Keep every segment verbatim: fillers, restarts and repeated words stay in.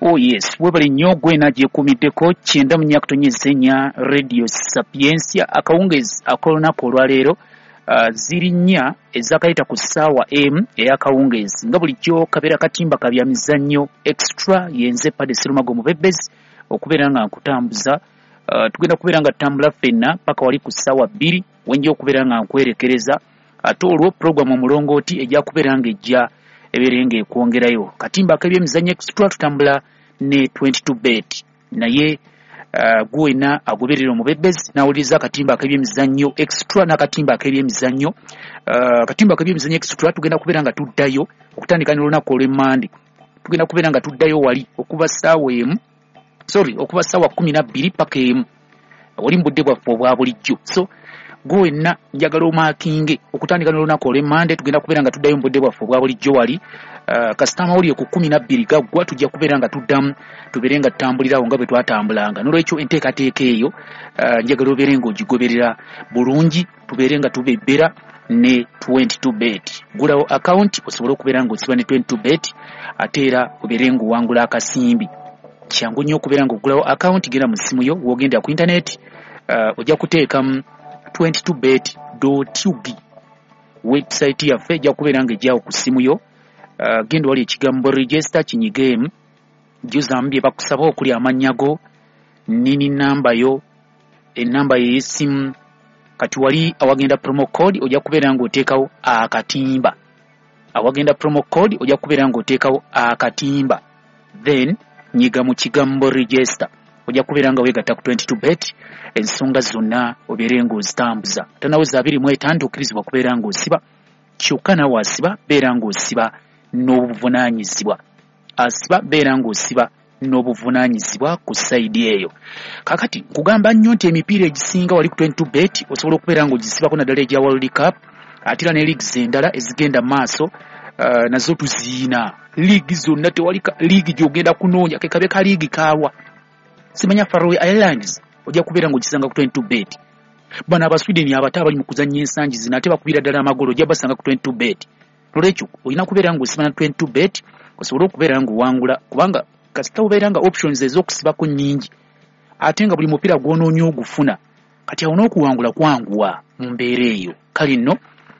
Oh yes, webale nnyo gwena gyekuumiddeko kyenda mu nnya kutonyeza ennya Radio Sapientia. Akawungezi ak'olunaku olwaleero uh, ziri nnya ezakayita ku ssaawa emu ey'akawungezi, nga bulijjo kabeera katimba ka byamizannyo extra. Yenze Pade Serumago Mubebezi okubeera nga nkutambuza. Uh, tugenda kubeera nga tutambula ffenna paka wali ku ssaawa bbiri wenja okubeera nga nkwerekereza, ate olwo puroguramu omulongooti ejja kubeera nga ejja ebeere nga ekwongerayo. Katimba ak'ebyemizannyo extra tutambula ne twenty-two bet, naye uh, gwena agoberera omubebezi n'awuliriza akatimba ak'ebyemizannyo extra n'akatimba ak'ebyemizannyo uh, akatimba ak'ebyemizannyo extra tugenda kubeera nga tuddayo okutandika n'olunaku olw'emmande. Tugenda kubeera nga tuddayo wali okuva ssaawa emu, sorry, okuva ssaawa kkumi na bbiri paka emu oli mu budde bwaffe obwa bulijjo. So gwe wenna njagala omaakinge okutandika n'olunaku olw'emmande, tugenda kubeera nga tuddayo mu budde bwaffe obwa bulijjo wali. Uh, kasita amawulire ku kkumi na bbiri gaggwa tujja kubeera nga tuddamu tubeere nga tutambulirawo nga bwe twatambulanga. N'olwekyo enteekateeka eyo uh, njagala obeere ng'ogigoberera bulungi, tubeere nga tubebbera ne twenty-two bet. Gulawo account osobole okubeera ng'osiba ne twenty-two bet, ate era obeere ng'owangula akasimbi. Kyangu nnyo okubeera ng'ogulawo account, genda mu ssimu yo w'ogenda ku internet, uh, ojja kuteekamu twenty-two bet dot u g. Website yaffe ejja kubeera ng'ejjawo ku ssimu yo. Uh, genda wali ekigambo register kinyigeemu, jjuzaamu bye bakusaba okuli amannya go, nini namba yo, ennamba yo ey'essimu. Kati wali awagenda promo code ojja kubeera ng'oteekawo akatimba. Awagenda promo code ojja kubeera ng'oteekawo akatimba, then nyiga mu kigambo register, ojja kubeera nga weegatta ku twenty-two bet, ensonga zonna obeere ng'ozitambuza. Tanaweza abiri mu etaano tokkirizibwa kubeera ng'osiba, kyokka naawe asiba beera ng'osiba n'obuvunaanyizibwa. Asiba beera ng'osiba n'obuvunaanyizibwa ku sayidi eyo. Kaakati nkugamba nnyo nti emipiira egisinga wali ku twenty-two bet osobola okubeera ng'ogisibako, naddala egya World Cup, ate era ne leagues endala ezigenda mu maaso, uh, nazo tuziina. Liigi zonna tewali liigi gy'ogenda kunoonya, ke kabe ka liigi kaawa simanya Faroe Islands ojja kubeera ng'ogisanga ku twenty-two bet. Bano Abasweden abato abali mu kuzannya ensangi zino ate bakubira ddala amagolo, ojja basanga ku twenty-two bet. Nolwekyo olina kubeera ng'osiba na twenty-two bet osobole okubeera ng'owangula, kubanga kasita obeera nga options ez'okusibako nnyingi ate nga buli mupiira gw'onoonya ogufuna, kati awo n'okuwangula kwanguwa mu mbeera eyo. Kale nno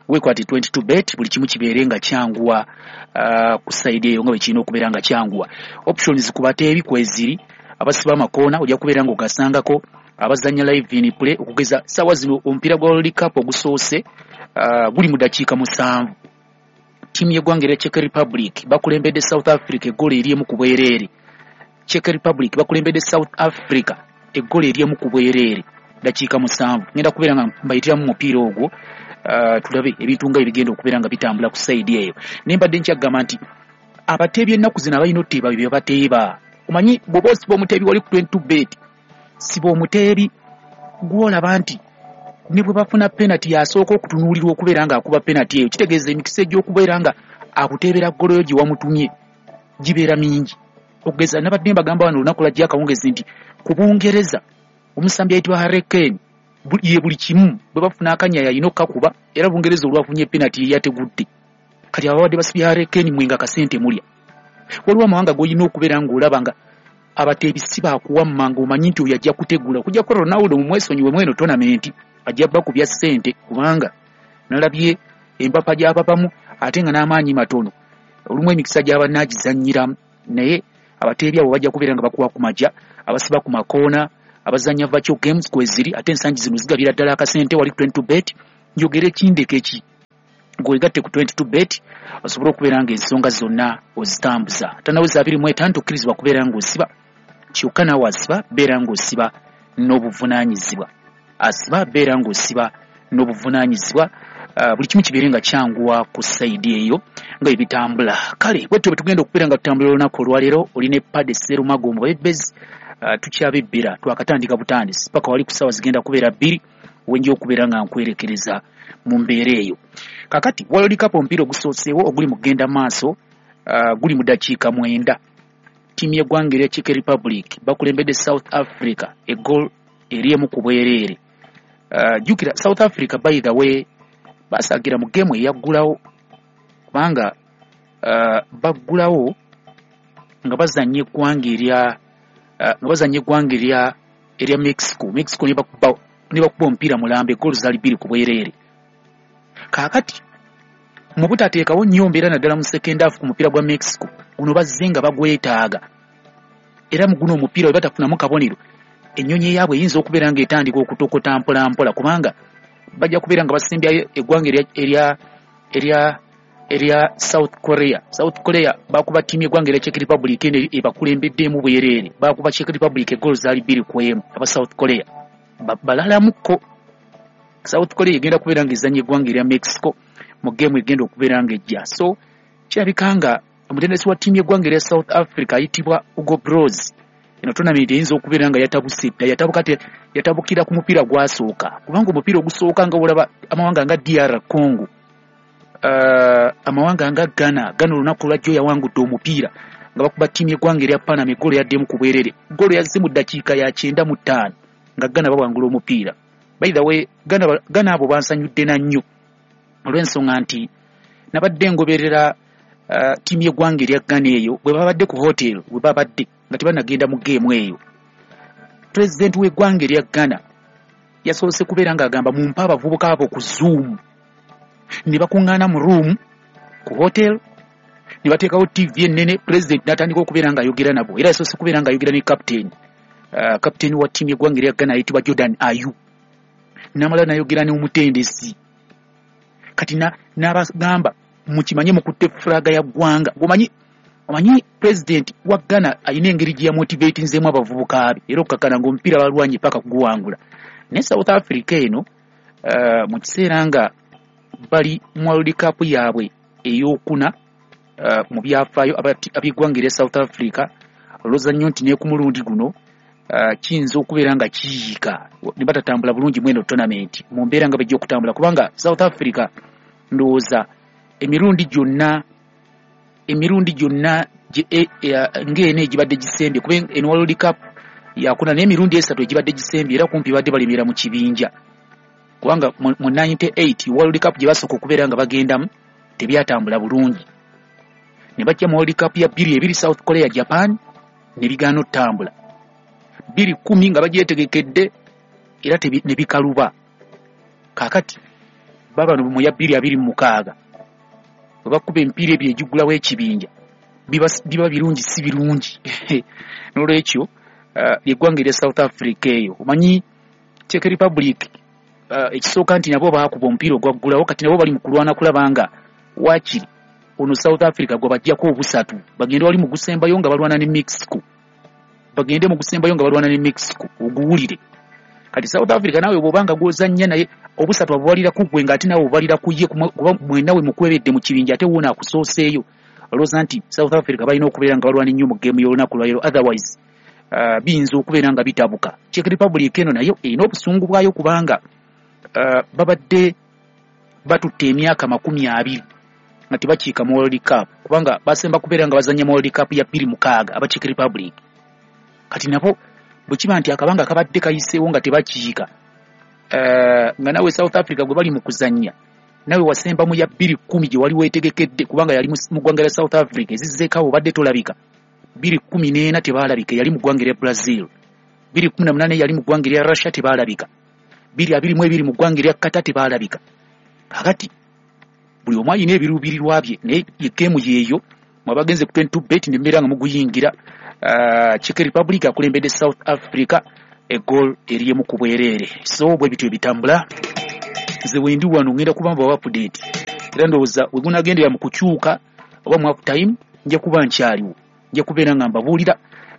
weekwate twenty-two bet, buli kimu kibeere nga kyanguwa uh, ku sayidi eyo nga bwe kirina okubeera nga kyanguwa. Options ku bateebi kweziri, abasiba amakoona ojja kubeera ng'ogasangako, abazannya live in play okugeza ssaawa zino omupiira gwa World Cup ogusoose uh, guli mu ddakiika musanvu. Ttiimu y'eggwanga erya Czech Republic bakulembedde South Africa eggolo eryemu ku bwereere. Czech Republic bakulembedde South Africa eggolo eryemu ku bwereere ddakiika musanvu. Ngenda kubeera nga mbayitiramu mupiira ogwo, uh, tulabe ebintu nga ebigenda okubeera nga bitambula ku sayidi eyo. Naye mbadde nkyagamba nti abateebi ennaku zino abalina oteeba bye bateeba. Omanyi bw'oba osiba omuteebi wali ku twenty-two bet, siba omuteebi gw'olaba nti ne bwe bafuna penalty yasooka okutunuulirwa okubeera ng'akuba penalty eyo, kitegeeza emikisa egy'okubeera nga akuteebera ggolo yo gye wamutumye gibeera mingi. Okugeza nabadde mbagamba wano olunaku lwajja akawungezi nti ku Bungereza omusambi ayitibwa Harry Kane ye buli kimu bwe bafuna akanya yalina okkakuba, era Bungereza olwafunye penalty ye yategudde. Kati ababadde basibye Harry Kane mwe nga kasente mulya. Waliwo amawanga g'olina okubeera ng'olaba nga abateebi si baakuwamma ng'omanyi nti oyo ajja kutegula. Okuggyako Ronaldo mumwesonyiwe mweno tournament ajja bakubya ssente, kubanga nalabye empapa gy'ababamu ate nga n'amaanyi matono, olumu emikisa gy'aba naagizannyiramu. Naye abateebi abo bajja kubeera nga bakuwa ku majja, abasiba ku makoona, abazannya virtual games kweziri, ate ensangi zino zigabira ddala akasente wali ku twenty-two bet. Njogere kindeke ki ng'owegatte ku twenty-two bet osobole okubeera ng'ensonga zonna ozitambuza. Tanaweza abiri mu etaano tokkirizibwa kubeera ng'osiba, kyokka naawe asiba beera ng'osiba n'obuvunaanyizibwa. Asiba beera ng'osiba n'obuvunaanyizibwa, uh, buli kimu kibeere nga kyanguwa ku sayidi eyo nga bwe bitambula. Kale bwetyo bwe tugenda okubeera nga tutambula olunaku olwaleero. Oli ne Pade Serumago Mubebezi, uh, tukyabebbera twakatandika butandisi paka wali ku ssaawa zigenda kubeera bbiri wenja okubeera nga nkwerekereza mu mbeera eyo. Kakati World Cup omupiira ogusooseewo oguli mu kugenda maaso, uh, guli mu ddakiika mwenda. Ttiimu y'eggwanga erya Czech Republic bakulembedde South Africa eggolo eryemu ku bwereere. Uh, jjukira South Africa by the way basaagira mu geemu eyaggulawo, kubanga uh, baggulawo nga bazannya eggwanga erya uh, nga bazannya eggwanga erya erya Mexico. Mexico ne bakuba ne bakuba omupiira mulamba, eggoolo zaali bbiri ku bwereere. Kaakati mu butateekawo nnyo mbeera naddala mu second half ku mupiira gwa Mexico guno bazze nga bagwetaaga, era mu guno omupiira bwe batafunamu kabonero ennyonyi eyaabwe eyinza okubeera ng'etandika okutokota mpola mpola, kubanga bajja kubeera nga basembyayo eggwanga erya erya erya erya South Korea. South Korea bakuba ttiimu y'eggwanga erya Czech Republic eno ebakulembeddemu bwereere, bakuba Czech Republic eggoolo zaali bbiri ku emu. Aba South Korea balalamukko. South Korea egenda kubeera ng'ezannya eggwanga erya Mexico mu geemu egenda okubeera ng'ejja. So kirabika nga omutendesi wa ttiimu y'eggwanga erya South Africa ayitibwa Hugo Broos, eno tournament eyinza okubeera nga yatabuse dda, yatabuka yatabukira ku mupiira gwasooka, kubanga omupiira ogusooka nga olaba amawanga nga D R Congo, uh, amawanga nga Ghana, Ghana olunaku lwajjo yawangudde omupiira nga bakuba ttiimu y'eggwanga erya Panama eggoolo yaddemu ku bwerere, ggoolo yazze mu ddakiika ya kyenda mu ttaano nga Ghana bawangula omupiira. By the way, Ghana, Ghana abo bansanyudde na nnyo olw'ensonga nti nabadde ngoberera uh, ttiimu y'eggwanga erya Ghana eyo bwe babadde ku hotel, bwe babadde nga tebannagenda mu geemu eyo. Pulezidenti w'eggwanga erya Ghana yasoose kubeera ng'agamba mumpe abavubuka abo ku Zoom, ne bakuŋŋaana mu room ku hotel ne bateekawo T V ennene, pulezidenti n'atandika okubeera ng'ayogera nabo. Era yasoose kubeera ng'ayogera ne captain, uh, captain wa ttiimu y'eggwanga erya Ghana ayitibwa Jordan Ayew, n'amala n'ayogera n'omutendesi. Kati n'abagamba mukimanye mukutte fulaga ya ggwanga. Omanyi omanyi pulezidenti wa Ghana alina engeri gye yamotivatinzeemu abavubuka be, era okukakkana ng'omupiira balwanye paka kuguwangula. Ne South Africa eno uh, mu kiseera nga bali mu World Cup yaabwe ey'okuna uh, mu byafaayo ab'eggwanga erya South Africa, olowooza nnyo nti ne ku mulundi guno uh, kiyinza okubeera nga kiyiika ne batatambula bulungi mu eno tournament mu mbeera nga bajja okutambula, kubanga South Africa ndowooza emirundi gyonna emirundi gyonna ng'eno egibadde gisembye, kuba eno World Cup yakuna n'emirundi esatu egibadde gisembye era kumpi badde balemera mu kibinja, kubanga mu ninety-eight World Cup gye basooka okubeera nga bagendamu tebyatambula bulungi, ne bajja mu World Cup ya bbiri ebiri South Korea Japan ne bigaana okutambula, bbiri kkumi nga bagyetegekedde era ne bikaluba. Kaakati baba mu ya bbiri abiri mu mukaaga bwe bakuba emipiira ebyo egigulawo ekibinja biba biba birungi si birungi. N'olwekyo eggwanga erya South Africa eyo omanyi Czech Republic ekisooka nti nabo baakuba omupiira ogwaggulawo, kati nabo bali mu kulwana kulaba nga waakiri ono South Africa gwe bajjako obusatu, bagende wali mu gusembayo nga balwana ne Mexico, bagende mu gusembayo nga balwana ne Mexico oguwulire. Kati South Africa naawe bw'obanga gw'ozannya naye obusatu abubalira ku ggwe ng'ate naawe obubalira ku ye, kuba mwenna we mukwebedde mu kibinja ate wuuno akusooseeyo. Olowooza nti South Africa balina okubeera nga balwana ennyo mu geemu y'olunaku lwaleero, otherwise uh, biyinza okubeera nga bitabuka. Czech Republic eno nayo erina obusungu bwayo kubanga uh, babadde batutte emyaka makumi abiri nga tebakiika mu World Cup, kubanga basemba kubeera nga bazannya mu World Cup ya bbiri mukaaga aba Czech Republic. Kati nabo bwe kiba nti akabanga kabadde kayiseewo nga tebakiika, uh, nga nawe South Africa gwe bali mu kuzannya nawe wasemba mu ya bbiri kkumi gye wali weetegekedde, kubanga yali mu ggwanga lya South Africa ezizzeeko awo obadde tolabika. Bbiri kkumi n'ena tebaalabika, yali mu ggwanga erya Brazil. Bbiri kkumi na munaana yali mu ggwanga erya Russia tebaalabika. Bbiri abiri mu ebiri mu ggwanga erya Qatar tebaalabika. Kakati buli omu alina ebiruubirirwa bye, naye geemu yeeyo mwabagenze ku twenty-two bet ne mbeera nga muguyingira. Uh, Czech Republic akulembedde South Africa egoal eriemu ku bwereere. So bwe bityo ebitambula, nze wendi wano ngenda kuba mbawa update, era ndowooza we gunagendera mu kukyuka oba mu half time nja kuba nkyaliwo, nja kubeera nga mbabuulira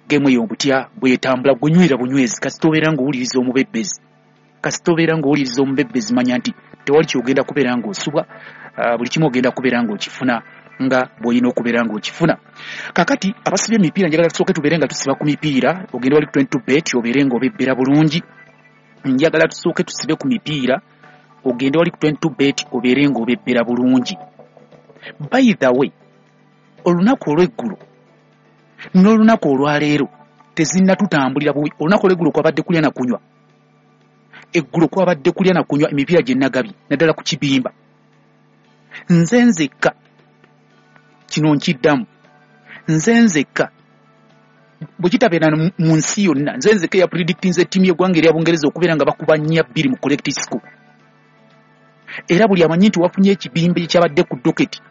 geemu eyo butya bwetambula. Gunywera bunywezi, kasita obeera ng'owuliriza omubebbezi, kasita obeera ng'owuliriza omubebbezi manya nti tewali ky'ogenda kubeera ng'osubwa, uh, buli kimu ogenda kubeera ng'okifuna nga bw'olina okubeera ng'okifuna. Kaakati abasiba emipiira njagala tusooke tubeere nga tusiba ku mipiira, ogende wali ku twenty-two bet obeere ng'obebbera bulungi. Njagala tusooke tusibe ku mipiira, ogende wali ku twenty-two bet obeere ng'obebbera bulungi. By the way, olunaku olw'eggulo n'olunaku olwaleero tezinnatutambulira bubi. Olunaku olw'eggulo kwabadde kulya na kunywa, eggulo kwabadde kulya na kunywa emipiira gye nagabye naddala ku kibimba. Nze nzekka kino nkiddamu, nze nzekka Bwe kitabeera mu nsi yonna, nze nzeka ya predictinze ttiimu y'eggwanga erya Bungereza okubeera nga bakuba nnya bbiri mu correct score. Era buli amanyi nti wafunye ekibimba ekyabadde ku docket,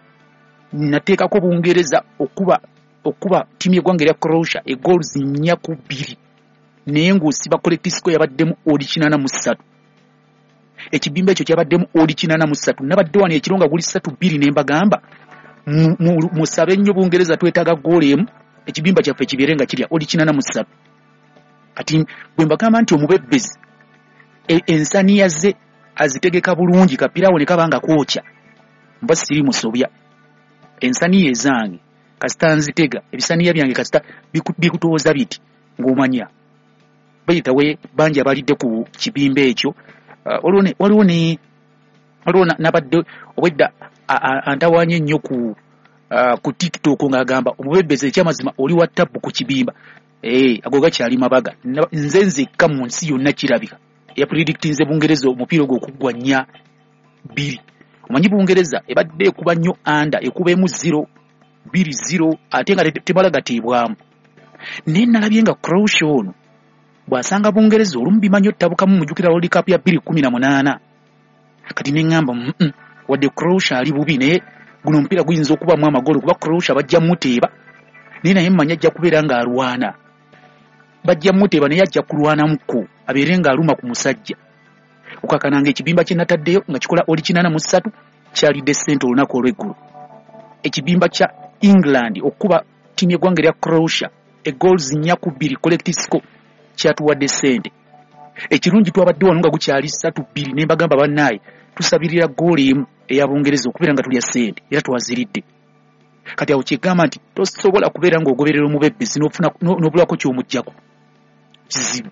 nateekako Bungereza okuba okuba ttiimu y'eggwanga erya Croatia e goals nnya ku bbiri, naye ng'osiba correct score yabaddemu odd kinaana mu ssatu. Ekibimba ekyo kyabaddemu odd kinaana mu ssatu. Nabadde wano ekiro nga guli ssatu bbiri ne mbagamba musabe nnyo Bungereza, twetaaga ggoolo emu ekibimba kyaffe kibeere nga kirya odd kinaana mu ssatu. Kati bwe mbagamba nti omubebbezi ensaniya ze azitegeka bulungi, kapirawo ne kaba nga kwokya, mba siri musobya. Ensaniya ezange kasita nzitega, ebisaniya byange kasita bikutooza biti ng'omanya. Bayitawe bangi abalidde ku kibimba ekyo. Waliwo ne waliwo nabadde obwedda antawaanye nnyo ku ku TikTok ng'agamba omubebbezi ekyamazima oli wa tabbu ku kibimba. Eh, ago gakyali mabaga. Nze nzekka mu nsi yonna kirabika ya predictinze Bungereza omupiira ogwo okuggwa nnya bbiri. Omanyi Bungereza ebadde ekuba nnyo under, ekuba emu zero bbiri zero, ate nga temala gateebwamu. Naye nalabye nga Croatia ono bw'asanga Bungereza olumu bimanyi ottabukamu, mujjukira World Cup ya bbiri kkumi na munaana. Kati ne ŋŋamba mm wadde Croatia ali bubi, naye guno omupiira guyinza okubamu amagolo kuba Croatia bajja muteeba, naye naye mmanyi ajja kubeera ng'alwana. Bajja muteeba naye ajja kulwanamukko abeere ng'aluma ku musajja. Okakananga ekibimba kye nataddeyo nga kikola odd kinaana mu ssatu kyalidde ssente olunaku olw'eggulo. Ekibimba kya England okuba ttiimu y'eggwanga erya Croatia e goals nnya ku bbiri correct score kyatuwadde ssente. Ekirungi twabadde wano nga gukyali ssatu bbiri ne mbagamba bannaaye tusabirira ggoolo emu eya Bungereza okubeera nga tulya ssente, era twaziridde. Kati awo kyegamba nti tosobola kubeera ng'ogoberera omubebbezi n'ofuna n'obulako ky'omuggyako. Kizibu.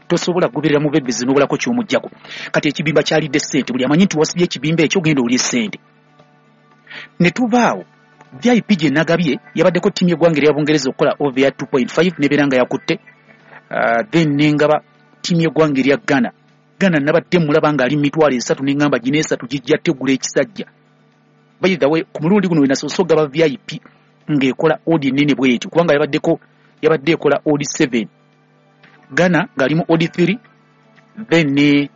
Tosobola kugoberera mubebbezi n'obulako ky'omuggyako. Kati ekibimba kyalidde ssente, buli amanyi nti wasibye ekibimba ekyo ogenda olye ssente. Ne tubaawo V I P gye nagabye yabaddeko ttiimu y'eggwanga erya Bungereza okukola over ya two point five n'ebeera nga yakutte. Uh, then nengaba ttiimu y'eggwanga erya Ghana. Ghana nabadde mulaba ng'ali mitwalo esatu ne ŋŋamba gino esatu gijja tegula ekisajja. By the way, ku mulundi guno we nasoose okugaba V I P ng'ekola odd ennene bw'etyo, kubanga yabaddeko yabadde ekola odd seven. Ghana ng'ali mu odd three, then ne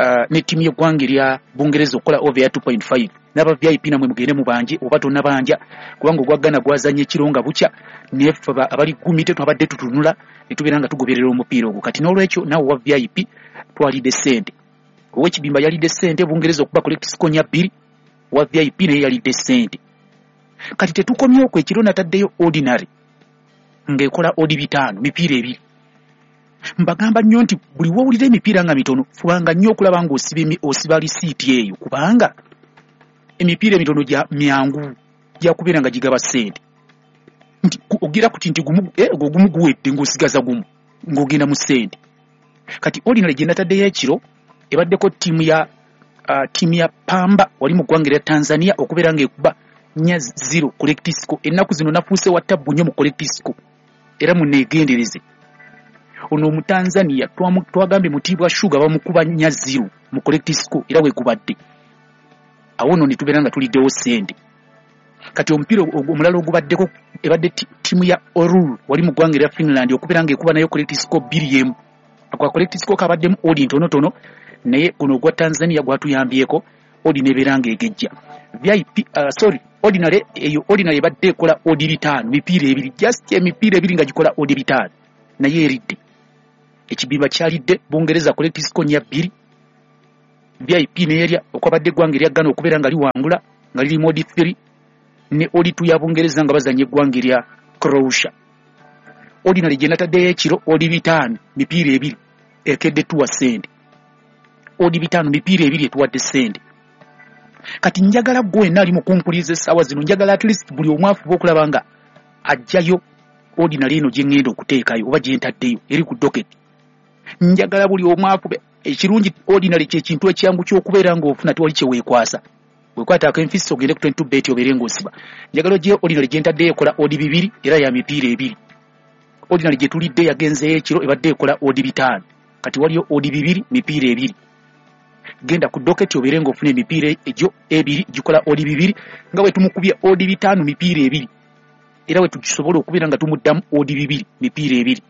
uh, ne ttiimu y'eggwanga erya Bungereza okukola over ya two point five. N'aba V I P namwe mugende mubanje oba tonnabanja, kubanga ogwa Ghana gwazannye ekiro nga bukya, naye ffe abali ggumi tetwabadde tutunula ne tubeera nga tugoberera omupiira ogwo. Kati n'olwekyo naawe owa V I P twalidde ssente. Ow'ekibimba yalidde ssente, Bungereza okuba correct score nnya bbiri, owa V I P naye yalidde ssente. Kati tetukomye okwo, ekiro nataddeyo ordinary ng'ekola odd bitaano, mipiira ebiri. Mbagamba nnyo nti buli w'owulira emipiira nga mitono, fubanga nnyo okulaba ng'osiba osiba lisiiti eyo, kubanga emipiira emitono gya myangu gya kubeera nga gigaba ssente. Nti ogira kuti nti gumu eh, ogwo gumu guwedde ng'osigaza gumu ng'ogenda mu ssente. Kati ordinary gye nataddeyo ekiro ebaddeko ttiimu ya uh, ttiimu ya Pamba wali mu ggwanga erya Tanzania okubeera ng'ekuba nnya zero correct score. Ennaku zino nafuuse wa tabbu nnyo mu correct score, era munneegendereze. Ono Omutanzania twagambye Mutibwa Sugar bamukuba nnya zero mu correct score, era wegubadde. Awo nno ne tubeera nga tuliddewo ssente. Kati omupiira omulala ogubaddeko ebadde ttiimu ya Oulu wali mu ggwanga erya Finland okubeera ng'ekuba nayo correct score bbiri emu. Ako correct score kabaddemu odd ntonotono, naye guno ogwa Tanzania gwatuyambyeko odd n'ebeera ng'egejja. V I P uh, sorry, ordinary eyo ordinary ebadde ekola odd bitaano, mipiira ebiri, just emipiira ebiri nga gikola odd bitaano, naye eridde. Ekibimba kyalidde Bungereza correct score nnya bbiri, V I P n'erya okwabadde eggwanga erya Ghana okubeera nga liwangula nga liri mu odd three, ne odd two ya Bungereza nga bazannya eggwanga erya Croatia. Ordinary gye nataddeyo ekiro odd bitaano, mipiira ebiri ekedde tuwa ssente. Odd bitaano mipiira ebiri etuwadde ssente. Kati njagala ggwe wenna ali mu kumpuliriza essaawa zino, njagala at least buli omu afuba okulaba nga aggyayo ordinary eno gye ŋŋenda okuteekayo oba gye ntaddeyo eri ku docket. Njagala buli omu afube. Ekirungi ordinary kye kintu ekyangu ky'okubeera ng'ofuna, tewali kye weekwasa. Bwekwata akenfisi ogende ku twenty-two bet obeere ng'osiba. Njagala ogyeyo ordinary gye ntaddeyo ekola odd bibiri era ya mipiira ebiri. Ordinary gye tulidde yagenzeeyo ekiro ebadde ekola odd bitaano. Kati waliyo odd bibiri mipiira ebiri. Genda ku docket obeere ng'ofuna emipiira egyo ebiri gikola odd bibiri, nga bwe tumukubye odd bitaano mipiira ebiri. Era we tukisobola okubeera nga tumuddamu odi bibiri, mipiira ebiri.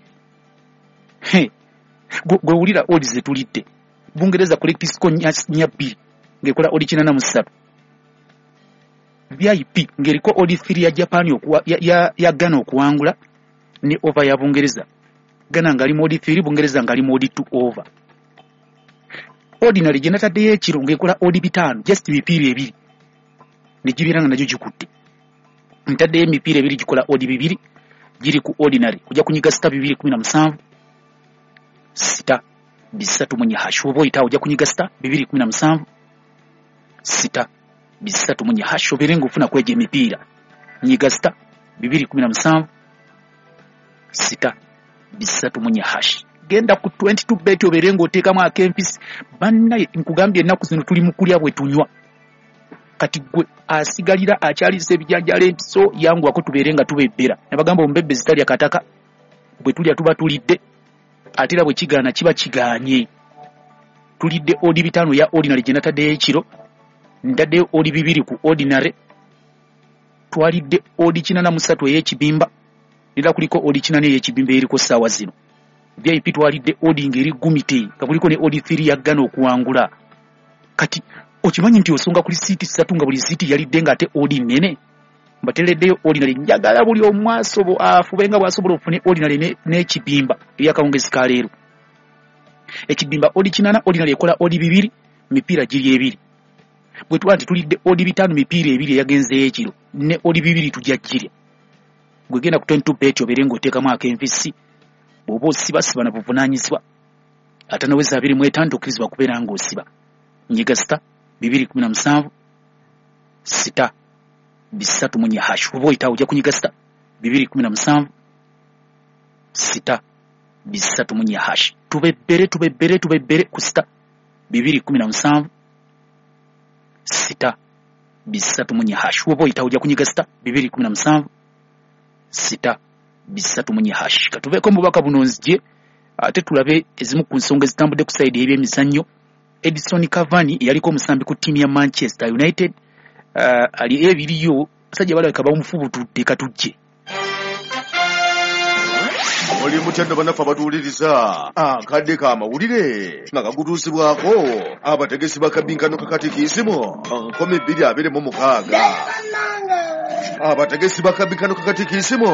Gwe wulira odi ze tulidde. Bungereza correct score nnya bbiri ng'ekola odi kinaana mu ssatu. V I P ng'eriko odi three ya Japan okuwa, ya, ya, ya Ghana okuwangula ne over ya Bungereza. Ghana ngali mu odi three, Bungereza ngali mu odi two over. Ordinary gye nataddeyo ekiro ng'ekola odi bitaano, just mipiira ebiri. Ne gibeera nga nagyo gikutte. Ntaddeyo emipiira ebiri gikola odi bibiri, giri ku ordinary. Ojja kunyiga sita bibiri kumi na musanvu, sita bisatu mu nnya hash. Oba oyitawo ojja kunyiga sita bibiri kumi na musanvu, sita bisatu mu nnya hash. Obeere ng'ofuna kwegyo emipiira. Nyiga sita bibiri kumi na musanvu, sita bisatu mu nnya hash. Genda ku twenty-two bet obeere ng'oteekamu ak'empisi. Bannaye nkugambye ennaku zino tuli mu kulya bwe tunywa. Kati gwe asigalira akyalisa ebijanjaalo empiso yanguwako tubeere nga tubebbera. Nabagamba omubebbezi talya kataka, bwe tulya tuba tulidde, ate era bwe kigaana kiba kigaanye. Tulidde odi bitaano ya ordinary gye nataddeyo ekiro, ntaddeyo odi bibiri ku ordinary, twalidde odi kinaana mu ssatu ey'ekibimba, era kuliko odi kinaana ey'ekibimba eriko ssaawa zino. V I P twalidde odi ng'eri gumite, nga kuliko ne odi three ya Ghana okuwangula. Kati okimanyi nti osonga ku lisiiti ssatu nga buli lisiiti yalidde ng'ate odi nnene. Mbateereddeyo ordinary, njagala buli omu asobo afube nga bw'asobola ofune ordinary n'ekibimba eby'akawungezi ka leero. Ekibimba odi kinaana, ordinary ekola odi bibiri, mipiira giri ebiri. Bwe tuba nti tulidde odi bitaano mipiira ebiri eyagenzeeyo ekiro, ne odi bibiri tujja girya. Gwe genda ku twenty-two bet obeere ng'oteekamu ak'enfisi, bw'oba osiba siba na buvunaanyizibwa. Atanaweza abiri mu etaano tokkirizibwa kubeera ng'osiba. Nyiga sita bibiri kumi na musanvu, sita bisatu mu nnya hash. Oba oyitawo ojja kunyiga sita bibiri kumi na musanvu, sita bisatu mu nnya hash. Tubebbere tubebbere tubebbere ku sita bibiri kumi na musanvu, sita bisatu mu nnya hash. Oba oyitawo ojja kunyiga sita bibiri kumi na musanvu, sita bisatu mu nnya hash. Katuveeko mu bubaka buno nzije ate tulabe ezimu ku nsonga ezitambudde ku sayidi ey'ebyemizannyo. Edison Cavani yaliko omusambi ku ttiimu ya Manchester United, uh, ali ebiriyo basajja balabika bamufubutudde katujje. Oli mutya nno bannaffe abatuwuliriza, akadde k'amawulire nga kagutuusibwako abategesi ba kabinkano kakatikiisimu nkumi bbiri abiri mu mukaaga. Abategesi ba kabinkano kakatikiisimu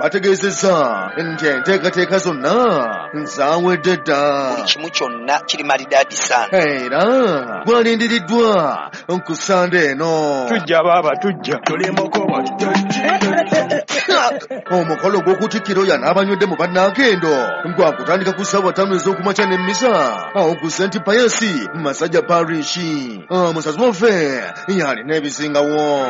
bategeezezza nti enteekateeka zonna zaawedde dda. Buli kimu kyonna kiri malidaadi sana. Era gwalindiriddwa ku Ssande eno. Tujja baaba tujja. Omukolo gw'okutikkira oyo n'abanywedde mu bannakendo gwakutandika ku ssaawa ttaano ez'okumakya n'emmisa awo ku Saint Pius Masajja Parish. Omusazi waffe yalina ebisingawo.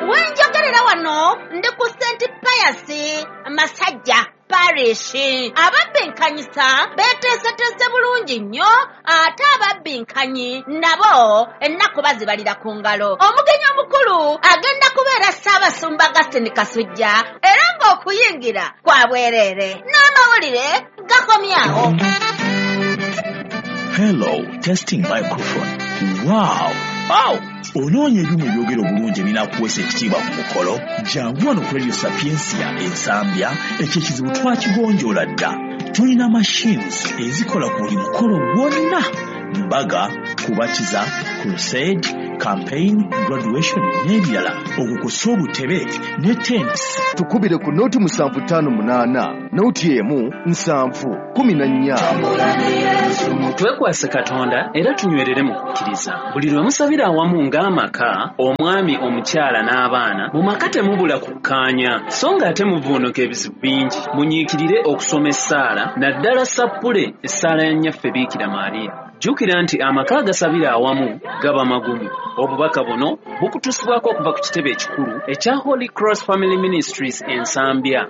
Wenjogerera wano ndi ku Saint Pius Masajja Parish. Ababbinkanyisa beeteeseteese bulungi nnyo, ate ababbinkanyi nabo ennaku bazibalira ku ngalo. Omugenyi omukulu agenda kubeera Ssaabasumba Augustine Kasujja, era ng'okuyingira kwa bwereere. N'amawulire gakomyawo. Hello, testing microphone. Wow! Wow! Onoonya ebyuma ebyogera obulungi ebinaakuweesa ekitiibwa ku mukolo? Jangu wano ku Radio Sapientia Ensambya, ekyo ekizibu twakigonjoola dda. Tulina machines ezikola ku buli mukolo gwonna: mbaga, kubatiza, crusade, campaign, graduation n'ebirala. Okukosa obutebe ne tents. Tukubire ku noti musanvu ttaano munaana, noti emu nsanvu kumi na nnya. Twekwase Katonda era tunywerere mu kukkiriza. Buli lwe musabira awamu ng'amaka, omwami, omukyala n'abaana, mu maka temubula kukkaanya, so ng'ate muvuunuka ebizibu bingi. Munyiikirire okusoma essaala, naddala sappule essaala ya Nnyaffe Biikira Maria. Jjukira nti amaka agasabira awamu gaba magumu. Obubaka buno bukutuusibwako okuva ku kitebe ekikulu ekya Holy Cross Family Ministries Ensambya.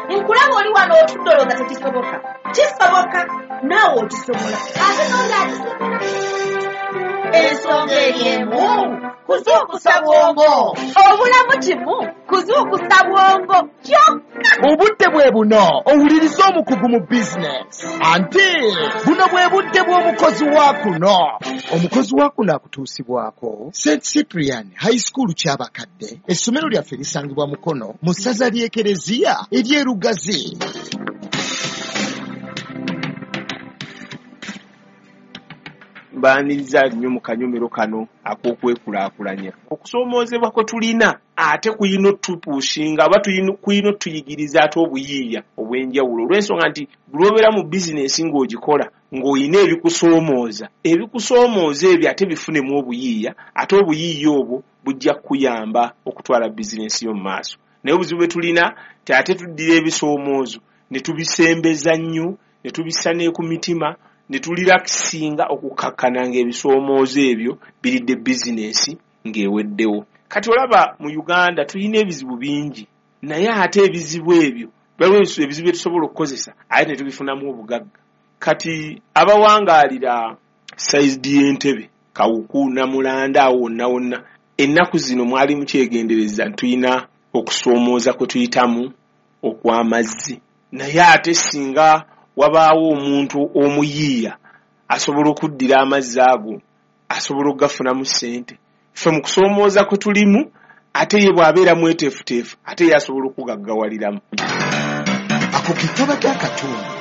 Nkulaba oli wano otudde olowooza tekisoboka. Kisoboka, naawe okisobola. Ate n'oli akisobola. Ensonga eri emu, kuzuukusa bwongo. Obulamu kimu, kuzuukusa bwongo kyokka. Obudde bwe buno owuliriza omukugu mu bizinesi, anti buno bwe budde bw'omukozi wa kuno. Omukozi wa kuno akutuusibwako Saint Cyprian High School Kyabakadde. Essomero lyaffe lisangibwa Mukono mu ssaza ly'Ekereziya ery'e Lugazi. Mbaaniriza nnyo mu kanyomero kano ak'okwekulaakulanya. Okusoomoozebwa kwe tulina ate kuyina otupushinga oba kuyina otuyigiriza ate obuyiiya obw'enjawulo, olw'ensonga nti lw'obeera mu bizinensi ng'ogikola ng'olina ebikusoomooza, ebikusoomooza ebyo ate bifunemu obuyiiya, ate obuyiiya obwo bujja kukuyamba okutwala bizinensi yo mu maaso. Naye obuzibu bwe tulina ti ate tuddira ebisoomoozo ne tubisembeza nnyo, ne tubissa ne ku mitima, ne tulirakisinga okukakkana ng'ebisoomoozo ebyo biridde bizinensi ng'eweddewo. Kati olaba mu Uganda tulina ebizibu bingi, naye ate ebizibu ebyo waliwo ebizibu bye tusobola okukozesa ate ne tubifunamu obugagga. Kati abawangaalira sayidi y'Entebe, Kawuku, Namulanda, awo wonna wonna, ennaku zino mwali mukyegendereza nti tulina okusoomooza kwe tuyitamu okw'amazzi, naye ate singa wabaawo omuntu omuyiiya asobola okuddira amazzi ago, asobola okugafunamu ssente. Ffe mu kusoomooza kwe tulimu, ate ye bw'abeera mweteefuteefu, ate ye asobola okugaggawaliramu. Ako ke kabadde akatundu.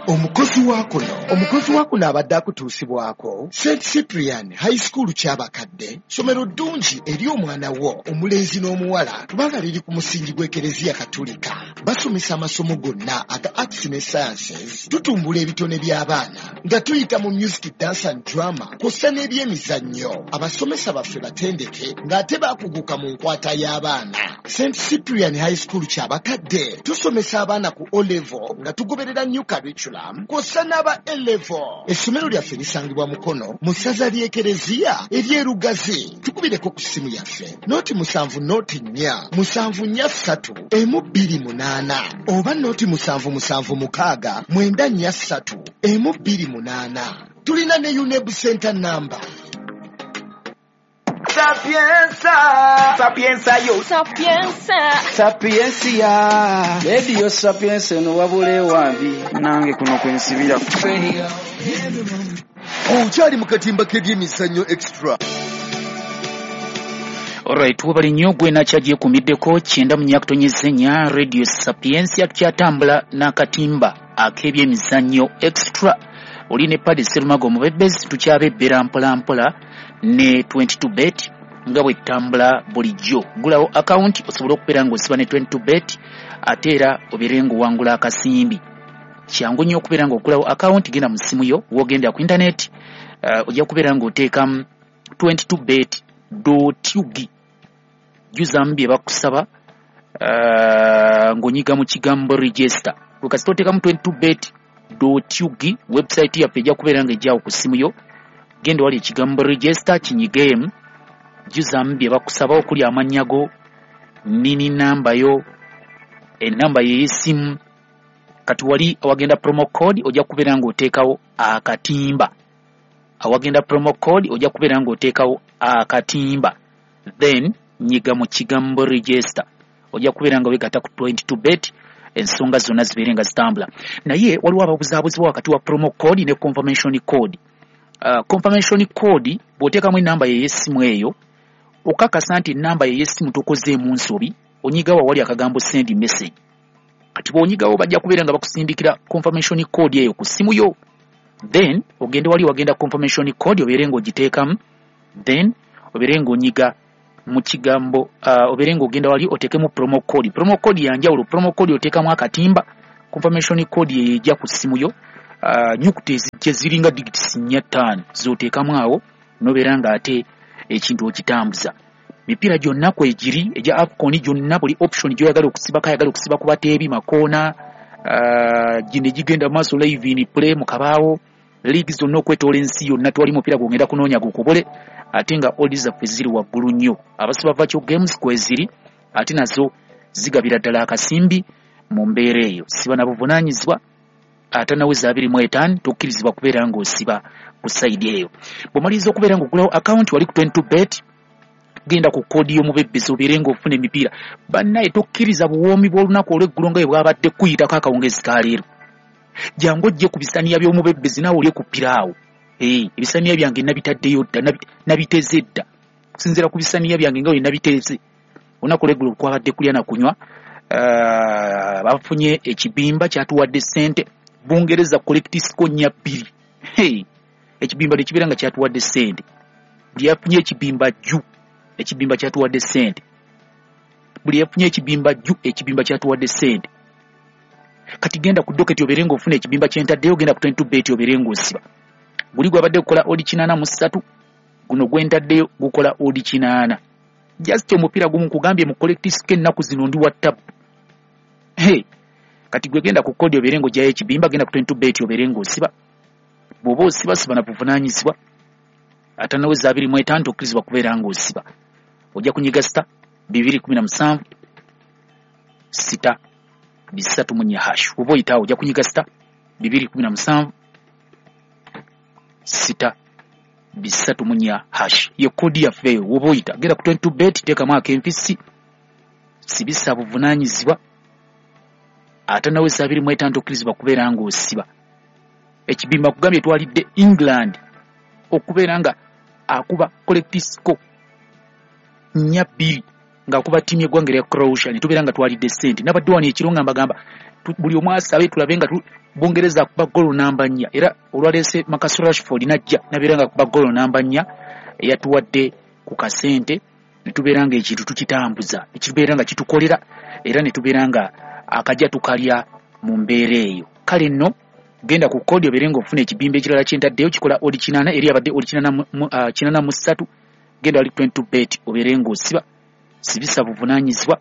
Omukozi wa kuno omukozi wa kuno abadde akutuusibwako Saint Cyprian High School Kyabakadde, ssomero ddungi eri omwana wo omulenzi n'omuwala, kubanga liri ku musingi gw'Ekereziya Katulika. Basomesa amasomo gonna aga arts ne sciences. Tutumbula ebitone by'abaana nga tuyita mu music, dance and drama kw'ossa n'ebyemizannyo. Abasomesa baffe batendeke ng'ate baakuguka mu nkwata y'abaana. Saint Cyprian High School Kyabakadde tusomesa abaana ku O level nga tugoberera new curriculum kw'ossa n'aba A level. Essomero lyaffe lisangibwa Mukono mu ssaza ly'Ekereziya ery'e Lugazi. Tukubireko ku ssimu yaffe noti musanvu noti nnya musanvu nnya ssatu emu bbiri munaana oba noti musanvu musanvu mukaaga mwenda nnya ssatu emu bbiri munaana. Tulina ne UNEB Center number. Sapienza, sapienza yo, Sapienza, sapiencia. Radio Sapienza eno wabula ewambi nange kuno kwensibira. Okyali mu katimba k'ebyemizannyo extra. Alright, webali nnyo gwe nakyagyekuumiddeko kyenda mu nnya kutonyeza ennya Radio Sapientia, tukyatambula n'akatimba ak'ebyemizannyo extra. Oli ne Paddy Serumago omubebezi, tukyabebbera mpola mpola ne twenty-two bet nga bwe tutambula bulijjo. Gulawo akawunti osobole okubeera ng'osiba ne twenty-two bet, ate era obeere ng'owangula akasimbi. Kyangu nnyo okubeera ng'ogulawo akawunti, genda mu ssimu yo w'ogenda ku intaneti, uh, ojja kubeera ng'oteekamu twenty-two bet dot ug, jjuzaamu bye bakusaba uh, ng'onyiga mu kigambo register. Kasita oteekamu twenty-two bet dot ug, website yaffe ejja kubeera ng'ejjawo ku ssimu yo. Genda wali ekigambo register kinyigeemu, jjuzaamu bye bakusaba okuli amannya go, nini namba yo, enamba ye y'essimu. Kati wali awagenda promo code ojja kubeera ng'oteekawo akatimba. Awagenda promo code ojja kubeera ng'oteekawo akatimba, then nyiga mu kigambo register, ojja kubeera nga weegatta ku twenty-two bet, ensonga zonna zibeere nga zitambula. Naye waliwo ababuzaabuzibwa wakati wa promo code ne confirmation code. Uh, confirmation code bw'oteekamu enamba ye y'essimu eyo, okakasa nti enamba ye y'essimu tokozeemu nsobi, onyigawo awali akagambo send message. Kati bw'onyigawo bajja kubeera nga bakusindikira confirmation code eyo ku ssimu yo, then ogende wali wagenda confirmation code obeere ng'ogiteekamu, then obeere ng'onyiga mu kigambo uh, obeere ng'ogenda wali oteekemu promo code. Promo code ya njawulo, promo code oteekamu akatimba, confirmation code eyo ejja ku ssimu yo. Uh, nyukuta ezijja ziringa digits nnya ttaano z'oteekamu awo n'obeera ng'ate ekintu okitambuza. Mipiira gyonna kwegiri egya AFCON gyonna, buli option gy'oyagala okusibako, ayagala okusiba ku bateebi makoona, uh, gino egigenda mu maaso live in play mu kabaawo, league zonna okwetoola ensi yonna, tewali mupiira gw'ogenda kunoonya gukubule, ate nga odds zaffe ziri waggulu nnyo. Abasiba virtual games kweziri, ate nazo zigabira ddala akasimbi mu mbeera eyo. Siba na buvunaanyizibwa, ate naweza abiri mu etaano tokkirizibwa kubeera ng'osiba ku sayidi eyo. Bw'omaliriza okubeera ng'ogulawo akawunti wali ku twenty-two bet Genda ku kkoodi y'omubebbezi obeere ng'ofuna emipiira. Bannaye tokkiriza buwoomi bw'olunaku olw'eggulo nga bwe bwabadde kuyitako akawungezi ka leero. Jangu ojje ku bisaniya by'omubebbezi naawe olye ku piraawo. Ee, ebisaniya byange nabitaddeyo dda, nabiteeze dda. Okusinziira ku bisaniya byange nga bwe nabiteeze. Olunaku olw'eggulo kwabadde kulya na kunywa. Uh, bafunye ekibimba kyatuwadde ssente. Bungereza correct score nnya bbiri. Hey, ekibimba ne kibeera nga kyatuwadde ssente. Buli yafunye ekibimba jju, ekibimba kyatuwadde ssente. Buli yafunye ekibimba jju, ekibimba kyatuwadde ssente. Kati genda ku docket obeere ng'ofuna ekibimba kye ntaddeyo, genda ku twenty-two bet obeere ng'osiba. Guli gwabadde gukola odi kinaana mu ssatu, guno gwe ntaddeyo gukola odi kinaana. Just omupiira gumu nkugambye mu correct score ennaku zino ndi wa ttabu. Hey, kati gwe genda ku kodi obeere ng'oggyayo ekibimba, genda ku twenty-two bet obeere ng'osiba. Bw'oba osiba siba na buvunaanyizibwa. Atanaweza abiri mu etaano tokkirizibwa kubeera ng'osiba. Ojja kunyiga sita bibiri kumi na musanvu sita bisatu mu nnya hash. Oba oyitaawo ojja kunyiga sita bibiri kumi na musanvu sita bisatu mu nnya hash. Ye kodi yaffe eyo oba oyita. Genda ku twenty-two bet teekamu ak'empisi, sibisa buvunaanyizibwa. Atanaweza abiri mu etaano tokkirizibwa kubeera ng'osiba. Ekibimba kugambye twalidde England okubeera nga akuba correct score nnya bbiri ng'akuba ttiimu y'eggwanga erya Croatia, ne tubeera nga twalidde ssente. Nabadde wano ekiro nga mbagamba buli omu asabe tulabe nga Bungereza akuba ggoolo namba nnya, era olwaleese Marcus Rashford n'ajja n'abeera nga akuba ggoolo namba nnya eyatuwadde ku kasente, ne tubeera nga ekintu tukitambuza, ekibeera nga kitukolera, era ne tubeera nga akajja tukalya mu mbeera eyo. Kale nno genda ku kodi obeere ng'ofuna ekibimba ekirala kye ntaddeyo kikola odi kinaana, eri abadde odi kinaana mu ssatu. Genda wali twenty-two bet obeere ng'osiba, sibisa buvunaanyizibwa.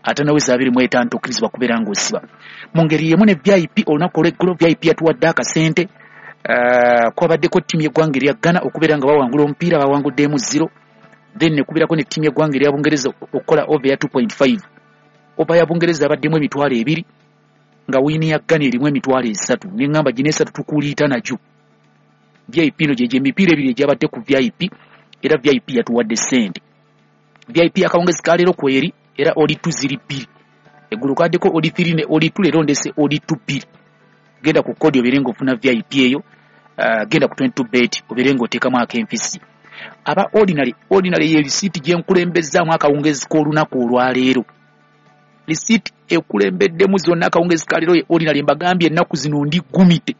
Atanaweza abiri mu etaano tokkirizibwa kubeera ng'osiba. Mu ngeri y'emu ne V I P olunaku olw'eggulo V I P yatuwadde akasente. Uh, kwabaddeko ttiimu y'eggwanga erya Ghana okubeera nga bawangula omupiira, bawanguddemu zero. Then ne kubeerako ne ttiimu y'eggwanga erya Bungereza okukola over ya two point five. Over ya Bungereza abaddemu emitwalo ebiri, nga wiini ya Ghana erimu emitwalo esatu. Ne ŋŋamba gino esatu tukuliita nagyo. V I P no gye emipiira ebiri egyabadde ku V I P, era V I P yatuwadde ssente. V I P akawungezi ka leero kweri, era odi two ziri bbiri. Eggulo kaddeko odi three ne odi two, leero ndese odi two bbiri. Genda ku kodi obeere ng'ofuna V I P eyo, uh, genda ku twenty-two bet obeere ng'oteekamu ak'empisi. Aba ordinary, ordinary ye risiiti gye nkulembezzaamu akawungezi k'olunaku olwaleero. Risiiti ekulembeddemu zonna akawungezi ka leero ye ordinary. Mbagambye ennaku zino ndi gumite.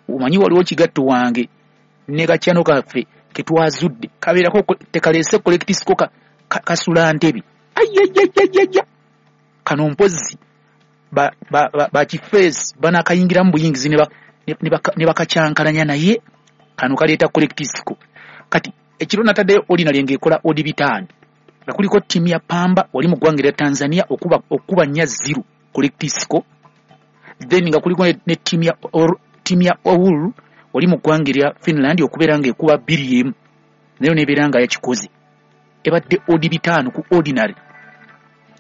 Omanyi waliwo kigatto wange ne kakyano kaffe ke twazudde kabeerako tekaleese correct score ka, kasula ntebe. Ayayayayaya, kano mpozzi ba ba ba, ba kifeesi banakayingiramu buyingizi ne ne bakacyankalanya, naye kano kaleeta correct score. Kati ekiro nataddeyo ordinary ng'ekola odi bitaano, nga kuliko ttiimu ya Pamba wali mu ggwanga erya Tanzania okuba okuba nnya zero correct score. Then nga kuliko ne ttiimu ya ttiimu ya Oulu wali mu ggwanga erya Finland okubeera ng'ekuba bbiri emu, nayo n'ebeera nga yakikoze. Ebadde odi bitaano ku ordinary.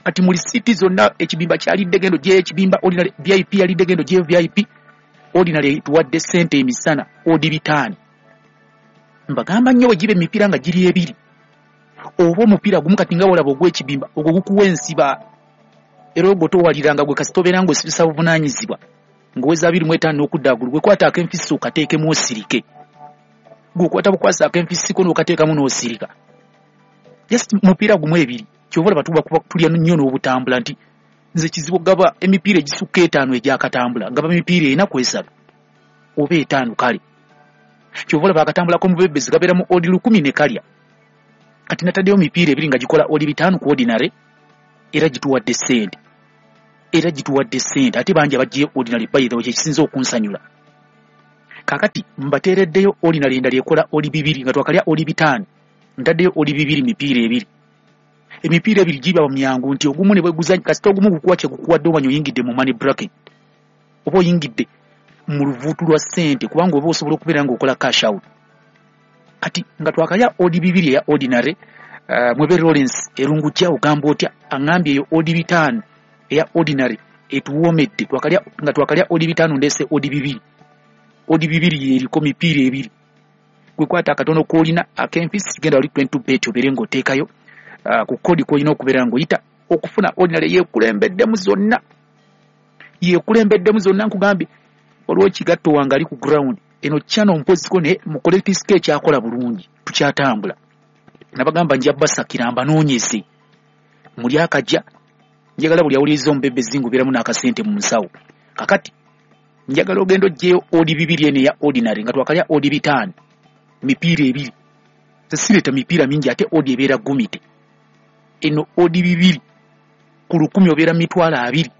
Kati mu risiiti zonna ekibimba kyalidde gendo gye ekibimba ordinary, V I P yalidde gendo gye V I P, ordinary tuwadde ssente emisana odi bitaano. Mbagamba nnyo bwe giba emipiira nga giri ebiri oba omupiira gumu, kati nga wolaba ogw'ekibimba ogwo gukuwa ensiba, era ogwo towaliranga gwe kasita obeera ng'osibisa buvunaanyizibwa ng'oweza abiri mu etaano n'okudda waggulu. Gwe kwata ak'enfisi okateekemu osirike, gwe okwata bukwasi ak'enfisi ko n'okateekamu n'osirika. Just mupiira gumu ebiri, ky'ova olaba tuba tulya nnyo n'obutambula nti nze kizibu gaba emipiira egisukka etaano egyakatambula, gaba emipiira ena ku esatu oba etaano. Kale ky'ova olaba akatambulako mu bebezi gabeera mu odi lukumi ne kalya. Kati nataddeyo emipiira ebiri nga gikola odi bitaano ku ordinary, era gituwadde ssente, era gituwadde ssente. Ate bangi abaggyeyo ordinary by the way, kyekisinza okunsanyula. Kaakati mbateereddeyo ordinary endala ekola odi bibiri, nga twakalya odi bitaano, ntaddeyo odi bibiri mipiira ebiri. Emipiira ebiri giba myangu nti ogumu ne bwe guzannya, kasita ogumu gukuwa kye gukuwadde omanya oyingidde mu money bracket oba oyingidde mu luvuutu lwa ssente, kubanga oba osobola okubeera ng'okola cash out. Kati nga twakalya odi bibiri eya ordinary, uh, Mwebe Lawrence Erungujja ogamba otya? Aŋŋambye eyo odi bitaano eya ordinary etuwoomedde. Twakalya nga twakalya odi bitaano, ndeese odi bibiri. Odi bibiri yeriko mipiira ebiri. Gwe kwata akatono k'olina ak'empisi, genda wali twenty bet obeere ng'oteekayo uh, ku kodi kw'olina okubeera ng'oyita okufuna ordinary. Yeekulembeddemu zonna, yeekulembeddemu zonna. Nkugambye waliwo kigatto wange ali ku ground eno channel mpoziko naye mukole tisike ekyakola bulungi, tukyatambula. Nabagamba nja basakira mbanoonyeze muli akajja, njagala buli awuliriza omubebezi ngubeeramu n'akasente mu nsawo. Kakati njagala ogenda oggyeyo odi bibiri eno eya ordinary nga twakalya odi bitaano mipiira ebiri. Sireeta mipiira mingi ate odi ebeera gumite. Eno odi bibiri ku lukumi obeera mitwalo abiri,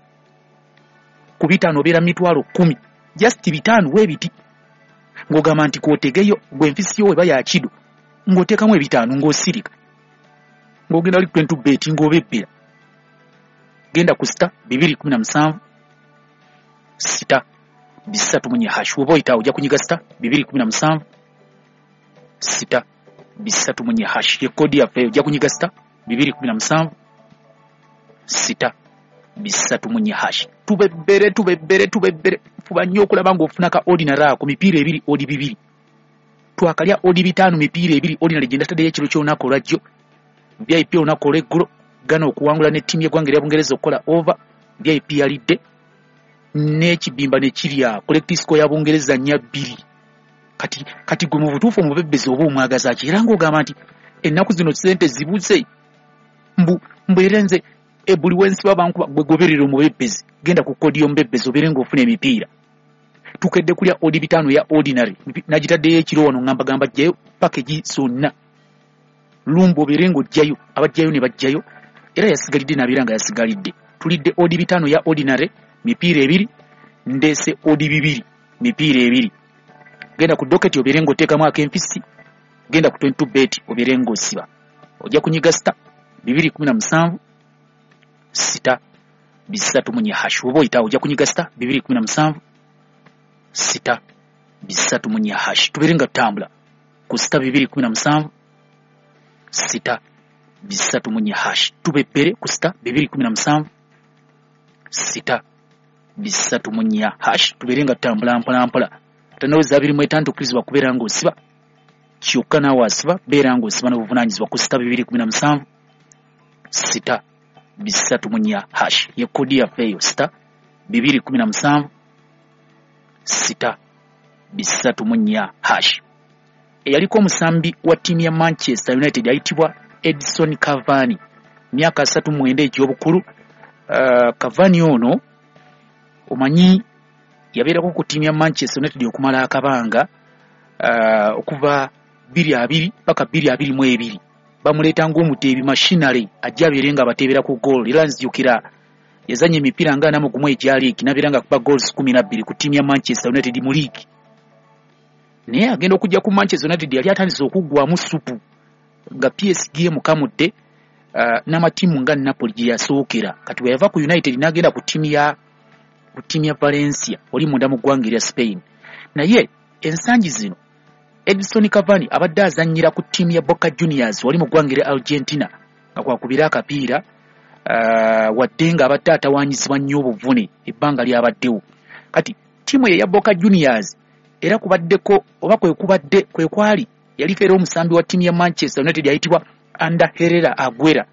ku bitaano obeera mitwalo kkumi, just bitaano weebiti. Ng'ogamba nti kootegeyo gwe nfisi yo weba ya kido ng'oteekamu ebitaano ng'osirika ng'ogenda wali twenty bet ng'obebbera. Genda ku sita bibiri kumi na musanvu sita bisatu munye hash, woba oyitaawo ojja kunyiga sita bibiri kumi na musanvu sita bisatu munye hash, ye kodi yaffe. Ojja kunyiga sita bibiri kumi na musanvu sita bisatu munye hash. Tubebbere, tubebbere, tubebbere. Fuba nnyo okulaba ng'ofuna ka ordinary ako mipiira ebiri odi bibiri. Twakalya odi bitaano mipiira ebiri ordinary gye ndataddeyo ekiro ky'olunaku olwajjo. V I P olunaku olw'eggulo Ghana okuwangula ne ttiimu y'eggwanga erya Bungereza okukola over. V I P yalidde n'ekibimba ne kirya collective score ya Bungereza nnya bbiri. Kati kati gwe mu butuufu omubebbezi oba omwagaza ki? Era ng'ogamba nti ennaku zino ssente zibuze, mbu mbeere nze e buli wensiba bankuba. Gwe goberera omubebbezi, genda ku kodi y'omubebbezi obeere ng'ofuna emipiira. Tukedde kulya odi bitaano ya ordinary nagitaddeyo ekiro wano ngamba gamba ggyayo package zonna lumbo obeere ng'oggyayo, abajjayo ne bajjayo, era yasigalidde n'abeera nga yasigalidde. Tulidde odi bitaano ya ordinary mipiira ebiri, ndeese odi bibiri mipiira ebiri. Genda ku doketi obeere ng'oteekamu ak'empisi, genda ku twenty bet obeere ng'osiba. Ojja kunyiga sita bibiri kumi na musanvu sita bisatu munye hash, oba oyitaawo ojja kunyiga sita bibiri kumi na musanvu sita bisatu munye hash. Tubeere nga tutambula ku sita bibiri kumi na musanvu sita bisatu munye hash. Tubebbere ku sita bibiri kumi na musanvu sita bisatu munye hash. Tubeere nga tutambula mpola mpola. Tanaweza abiri mu etaano tukkirizibwa kubeera ng'osiba, kyokka naawe asiba beera ng'osiba n'obuvunaanyizibwa ku sita bibiri kumi na musanvu sita bisatu munye hash. Ye kodi yaffe eyo sita bibiri kumi na musanvu sita bisatu munye hash. Eyaliko omusambi wa ttiimu ya Manchester United ayitibwa Edison Cavani, myaka asatu mu mwenda egy'obukulu. Uh, Cavani ono omanyi yabeerako ku ttiimu ya Manchester United okumala akabanga, uh, okuva bbiri abiri paka bbiri abiri mu ebiri. Bamuleeta ng'omuteebi machinery ajja abeere nga abateebera ku goal. Era nzijukira yazannya emipiira nga ana mu gumu egya liigi n'abeera nga akuba goals kumi na bbiri ku ttiimu ya Manchester United mu liigi. Naye agenda okujja ku Manchester United yali atandise okuggwamu ssupu nga P S G emukamudde uh, n'amatiimu nga Napoli gye yasookera. Kati bwe yava ku United n'agenda ku ttiimu ya ku ttiimu ya Valencia oli munda mu ggwanga erya Spain. Naye ensangi zino Edison Cavani abadde azannyira ku ttiimu ya Boca Juniors wali mu ggwanga erya Argentina nga kwakubira akapiira, uh, wadde nga abadde atawaanyizibwa nnyo obuvune ebbanga ly'abaddewo. Kati ttiimu ye ya Boca Juniors era kubaddeko oba kwe kubadde kwe kwali yaliko era omusambi wa ttiimu ya Manchester United ayitibwa Ander Herrera Aguera.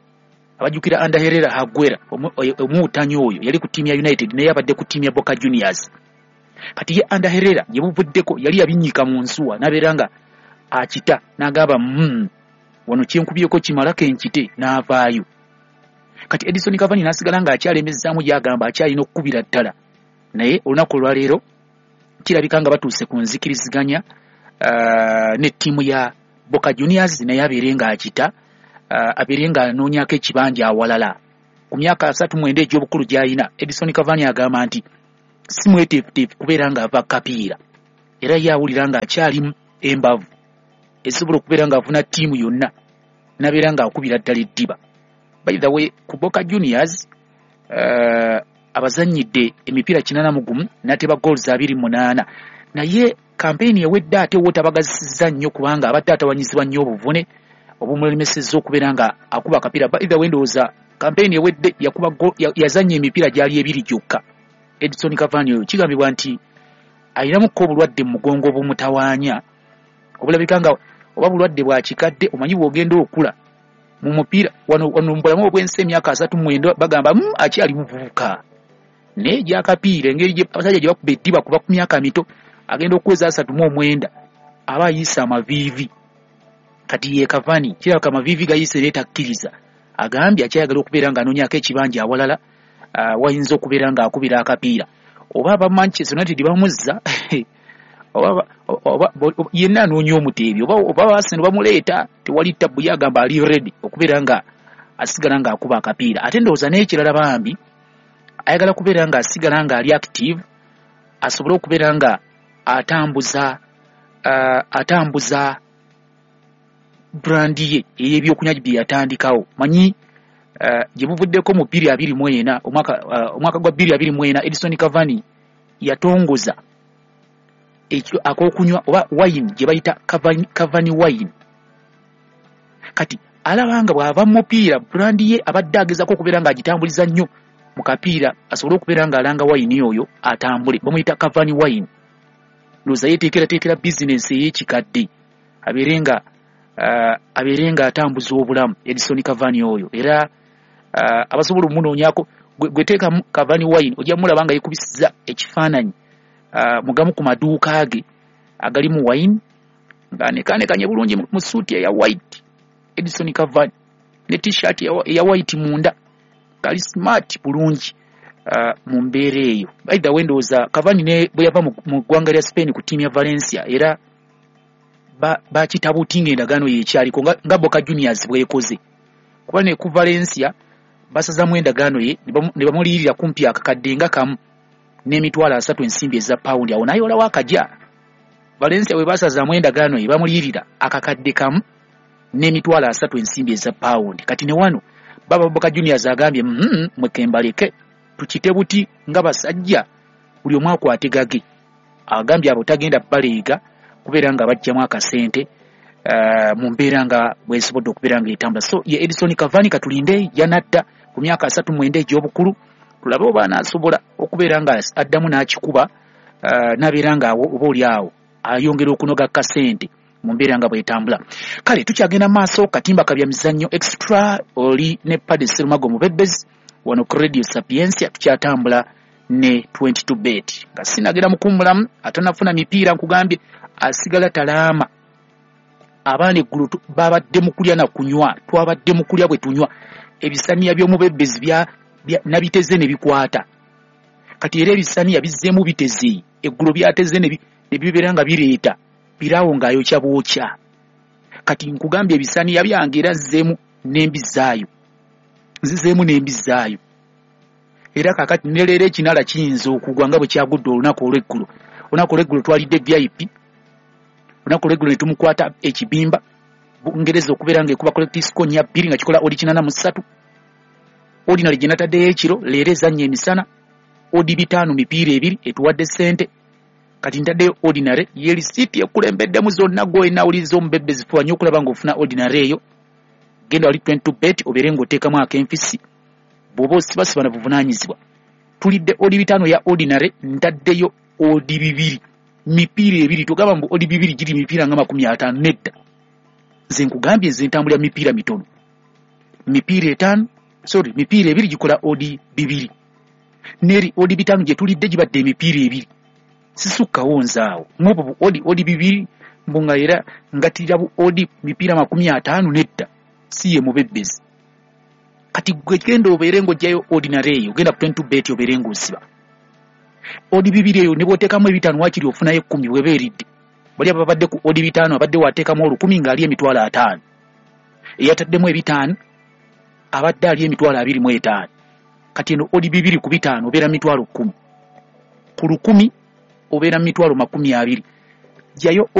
Abajjukira Ander Herrera Aguera omuwutanyi oyo yali ku ttiimu ya United naye abadde ku ttiimu ya Boca Juniors. Kati ye Ander Herrera gye buvuddeko yali yabinnyika mu nsuwa n'abeera nga akita n'agamba mm, wano kyenkubyeko kimalako enkite n'avaayo. Kati Edison Cavani n'asigala ng'akyalemezaamu gy'agamba akyalina okukubira ddala, naye olunaku olwaleero kirabika nga batuuse ku nzikiriziganya uh, ne ttiimu ya Boca Juniors naye abeere ng'akita, uh, abeere ng'anoonyako ekibanja awalala. Ku myaka asatu mwenda egy'obukulu gy'alina, Edison Cavani agamba nti si mweteefuteefu kubeera ng'ava kapiira, era ye awulira ng'akyalimu embavu esobola okubeera ng'afuna ttiimu yonna n'abeera ng'akubira ddala eddiba. By the way, ku Boca Juniors uh, abazannyidde emipiira kinaana mu gumu n'ateeba goals abiri munaana, naye kampeyini ewedde ate wo tabagazisizza nnyo kubanga abadde atawanyizibwa nnyo obuvune obumulemesezza okubeera nga akuba akapiira. By the way, ndowooza kampeyini ewedde yakuba yazannya emipiira gyali ebiri gyokka. Edison Cavani oyo kigambibwa nti alinamuko obulwadde mu mugongo obumutawaanya Obulabika nga oba bulwadde bwa kikadde, omanyi bw'ogenda okula mu mupiira wano wano mu bulamu obw'ensi emyaka asatu mu mwenda bagamba mm, akyali muvubuka, naye gy'akapiira engeri gye abasajja gye bakuba eddiba kuva ku myaka mito, agenda okuweza asatu mu omwenda aba ayiise amaviivi. Kati ye Cavani kirabika amaviivi gayiise naye takkiriza, agambye akyayagala okubeera ng'anoonyaako ekibanja awalala uh, wayinza okubeera ng'akubira akapiira. Oba aba Manchester United bamuzza oba oba yenna anoonya omuteebi, oba oba Arsenal bamuleeta, tewali tabbu, ye agamba ali ready okubeera nga asigala ng'akuba akapiira. Ate ndowooza n'ekirala bambi ayagala kubeera ng'asigala ng'ali active, asobole okubeera nga atambuza uh, atambuza brand ye ey'ebyokunywa bye yatandikawo. Manyi uh, gye buvuddeko mu bbiri abiri mu ena, omwaka uh, omwaka gwa bbiri abiri mu ena Edison Cavani yatongoza ekyo ak'okunywa oba wine gye bayita Cavani, Cavani wine. Kati alaba nga bw'ava mu mupiira brand ye abadde agezaako okubeera ng'agitambuliza nnyo mu kapiira, asobole okubeera ng'alanga wine oyo atambule, bamuyita Cavani wine. Ndowooza yeeteekerateekera bizinensi ey'ekikadde abeere nga uh, abeere ng'atambuza obulamu Edison Cavani oyo. Era uh, abasobola omunoonyaako gwe teekamu Cavani wine ojja mulaba nga yeekubisiza ekifaananyi uh, mu gamu ku maduuka ge agalimu wine ng'anekaanekanye bulungi mu suuti eya white Edison Cavani ne t-shirt eya white munda, ng'ali smart bulungi uh, mu mbeera eyo. By the way, ndowooza Cavani ne bwe yava mu ggwanga lya Spain ku ttiimu ya Valencia era bakitabutinga endagaano ye ekyaliko nga, nga Boca Juniors bw'ekoze, kuba ne ku Valencia basazamu endagaano ye ne bamuliyirira kumpi akakadde nga kamu n'emitwalo asatu ensimbi eza pawundi. Awo n'ayolawo akajja. Valencia bwe basazaamu endagaano ye bamuliyirira akakadde kamu n'emitwalo asatu ensimbi eza pawundi. Kati ne wano baba Boca Juniors agambye mm, mweke mbaleke tukite buti nga basajja buli omu akwate gage. Agambye abo tagenda baleega kubeera nga bajjamu akasente uh, mu mbeera nga bwesobodde okubeera nga etambula. So ye Edison Cavani katulinde yanadda ku myaka asatu mwenda egy'obukulu, tulabe oba anaasobola okubeera nga addamu n'akikuba uh, n'abeera nga awo oba oli awo ayongera okunoga kasente mu mbeera nga bwetambula. Kale tukyagenda maaso, katimba kabya mizannyo extra oli ne Paddy Serumago Mubebezi wano ku Radio Sapientia, tukyatambula ne twenty-two bet. Nga sinagenda mukummulamu atanafuna mipiira nkugambye asigala talaama. Abaana eggulu babadde mu kulya na kunywa, twabadde mu kulya bwe tunywa, ebisaniya by'omubebezi bya nabiteze ne bikwata. Kati era ebisaniya bizzeemu biteze, eggulo byateze ne bibeera nga bireeta piraawo ng'ayokya bwokya. Kati nkugambye ebisaniya byange era nzizeemu n'embizaayo, nzizeemu n'embizaayo. Era kaakati ne leero ekinala kiyinza okugwa nga bwe kyagudde olunaku olw'eggulo. Olunaku olw'eggulo twalidde V I P, olunaku olw'eggulo ne tumukwata ekibimba Bungereza okubeera ng'ekuba collective score nnya bbiri nga kikola odi kinaana mu ssatu. Ordinary gye nataddeyo ekiro leero ezannya emisana odi bitaano mipiira ebiri etuwadde ssente. Kati ntaddeyo ordinary ye lisiiti ekulembeddemu zonna gwe nawuliriza omubebezi fuba nnyo okulaba ng'ofuna ordinary eyo. Genda wali twenty-two bet obeere ng'oteekamu ak'enfisi bw'oba osibasiba na buvunaanyizibwa. Tulidde odi bitaano ya ordinary, ntaddeyo odi bibiri mipiira ebiri. Togamba mbu odi bibiri giri mipiira nga makumi ataano, nedda. Nze nkugambye nze ntambulira mipiira mitono, mipiira etaano, sorry mipiira ebiri gikola odi bibiri, neri odi bitaano gye tulidde gibadde emipiira ebiri, sisukkawo nze awo mwobo bu odi odi bibiri mbu nga era ngatirira bu odi mipiira makumi ataano, nedda, si ye mubebezi. Kati gwe genda obeere ng'oggyayo ordinary eyo, genda ku twenty-two bet obeere ng'osiba odi bibiri eyo, ne bw'oteekamu ebitaano waakiri ofunayo ekkumi bw'eba eridde. Bali ababadde ku odi bitaano abadde wateekamu olukumi ng'ali emitwalo ataano, eyataddemu ebitaano abadde ali emitwalo abiri mu etaano. Kati eno odi bibiri ku bitaano obeera mitwalo kkumi, ku lukumi obeera mitwalo makumi abiri. Ggyayo